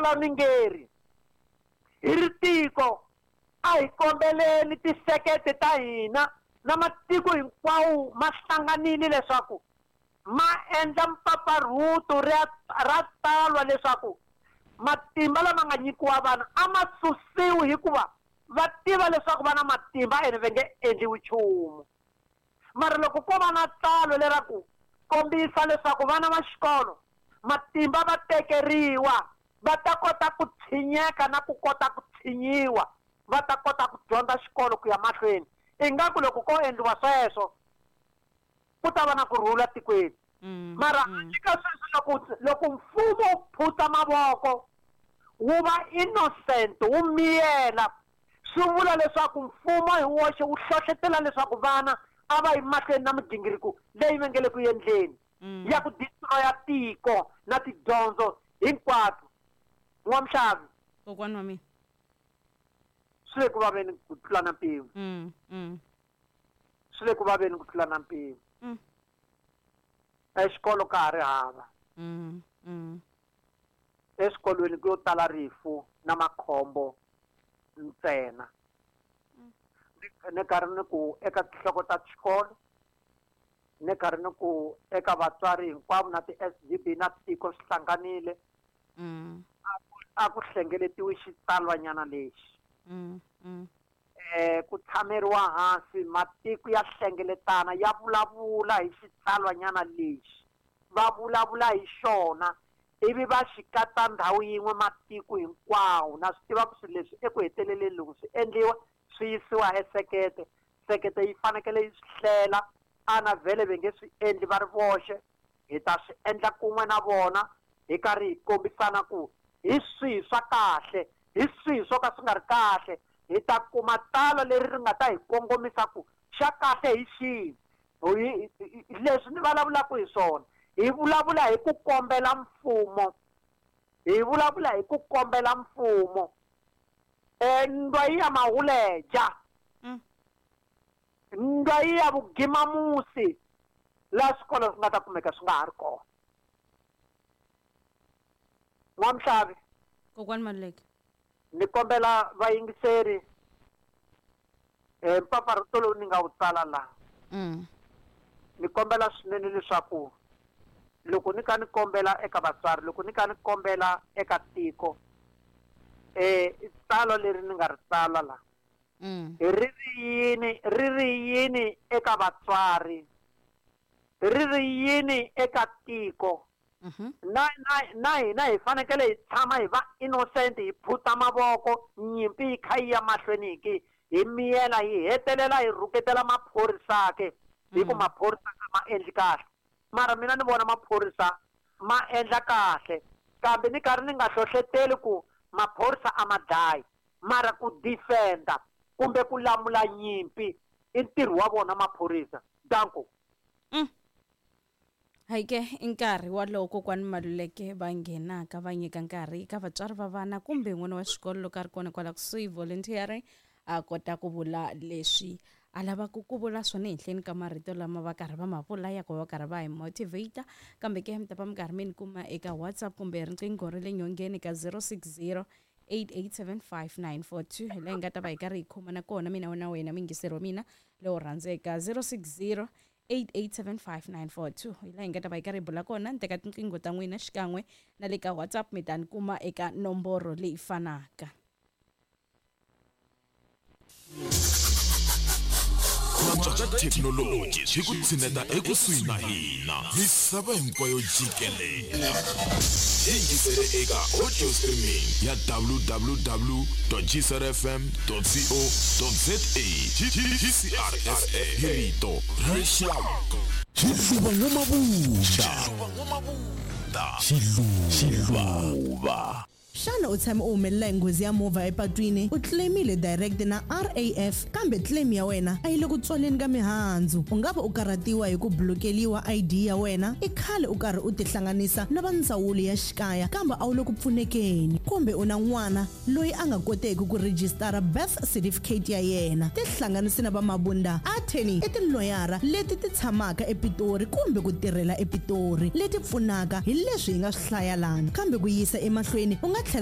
Tsalwa ni ngeri hi ri tiko a hi kombeleni tisekete ta hina na matiko hinkwawo ma hlanganile leswaku ma endla mpfapfarhuto ra tsalwa leswaku matimba lama nga nyikiwa vana a ma susiwi hikuva va tiva leswaku va na matimba ene va nge endliwi nchumu. Mara loko ko va na tsalwa leraku kombisa leswaku vana va xikolo matimba va tekeriwa, va ta kota ku tshinyeka na ku kota ku tshinyiwa, va ta kota ku dyondza xikolo ku ya mahlweni. Ingaku loko ko endliwa sweswo ku ta va na ku rhula tikweni. Mara eka sweswi loko mfumo wu phutsa mavoko wu va innocent, wu miyela, swi vula leswaku mfumo hi woxe wu hlohletela leswaku vana a va yi mahlweni na migingiriko leyi va nge le ku endleni ya ku destroya tiko na tidyondzo hinkwato. N'wamuxavi, Kokwana wa mina, swi le ku vaveni ku tlula na mpimo. Swi le ku vaveni ku tlula na mpimo. Exikolo ka ha ri hava. Eswikolweni ku yo tala rifu na makhombo ntsena. Ni karhi ni ku eka tinhloko ta xikolo, ni karhi ni ku eka vatswari hinkwavo na ti-S_G_B na tiko swi hlanganile. A ku hlengeletiwi xitsalwanyana lexi. Ku tshameriwa hansi, matiko ya hlengeletana ya vulavula hi xitsalwanyana lexi, va vulavula hi xona ivi va xi katsa ndhawu yin'we matiko hinkwawo. Na swi tiva ku swilo leswi eku heteleleni loko swi endliwa swi yisiwa esekete, sekete yi fanekele yi swi hlela, ana vhele va nge swi endli va ri voxe, hi ta swi endla kun'we na vona hi karhi hi kombisana ku hi swihi swa kahle, hi swihi swo ka swi nga ri kahle. Hi ta kuma tsalwa leri ri nga ta hi kongomisa ku xa kahle hi xihi. Leswi ni vulavulaka hi swona, hi vulavula hi ku kombela mfumo, hi vulavula hi ku kombela mfumo. Ndwa yi ya mahuleja, ndwa yi ya vugimamusi, laha swikolo swi nga ta kumeka swi nga ha ri kona. N'wamuxavi, Kokwani Maluleke, ni kombela vayingiseri mpfapfarhuto lowu ni nga wu tsala laha. Ni kombela swinene leswaku loko ni ka ni kombela eka vatswari, loko ni ka ni kombela eka tiko, tsalwa leri ni nga ri tsala laha, ri ri yini eka vatswari, ri ri yini eka tiko. Na hina hi fanekele hi tshama hi va innocent, hi phuta mavoko, nyimpi yi kha yi ya mahlweni ki hi miyela, hi hetelela hi rhuketela maphorisa ke, hi ku maphorisa a ma endli kahle. Mara mina ni vona maphorisa ma endla kahle, kambe ni karhi ni nga hlohleteli ku maphorisa a ma dlayi, mara ku defenda kumbe ku lamula nyimpi i ntirho wa vona maphorisa. Danko. Hayi ke, i nkarhi walowo Kokwani Maluleke va nghenaka va nyika nkarhi eka vatswari va vana kumbe n'wana wa xikolo loko a ri kona kwala kusuhi volunteering, a kota ku vula leswi a lavaka ku vula swona ehenhleni ka marito lama va karhi va ma vula ya ku va karhi va hi motivate. Kambe ke mi ta va mi karhi mi ni kuma eka WhatsApp kumbe riqingho ra le nyongeni ka 060 8875942, hi laha hi nga ta va hi karhi hi khomana kona mina na wena muyingiseri wa mina lowo rhandzeka. 060 8875942, hi laha hi nga ta va hi karhi hi bula kona. Ni teka tinqingho ta n'wina xikan'we na le ka WhatsApp, mi ta ni kuma eka nomboro leyi fanaka. Ku antswa ka thekinoloji swi ku tshineta ekusuhi na hina, misava hinkwayo jikelela. Yingisele eka audio streaming ya www.gcrfm.co.za. GCRFM hi rito ra rixaka. Xiluva N'wamabunda, Xiluva. Xana u tshame u humelela hi nghozi ya movha epatwini, u claimile direct na RAF, kambe claim ya wena a yi le ku tswaleni ka mihandzu? U nga va u karhatiwa hi ku blokeliwa ID ya wena, i khale u karhi u tihlanganisa na va ndzawulo ya xikaya kambe a wu le ku pfunekeni, kumbe u na n'wana loyi a nga koteki ku rejistara birth certificate ya yena. Tihlanganisi na va Mabunda Attorney, i tiloyara leti ti tshamaka ePitori kumbe ku tirhela ePitori, leti pfunaka hi leswi hi nga swi hlaya lana. Kambe ku yisa emahlweni u nga tlhela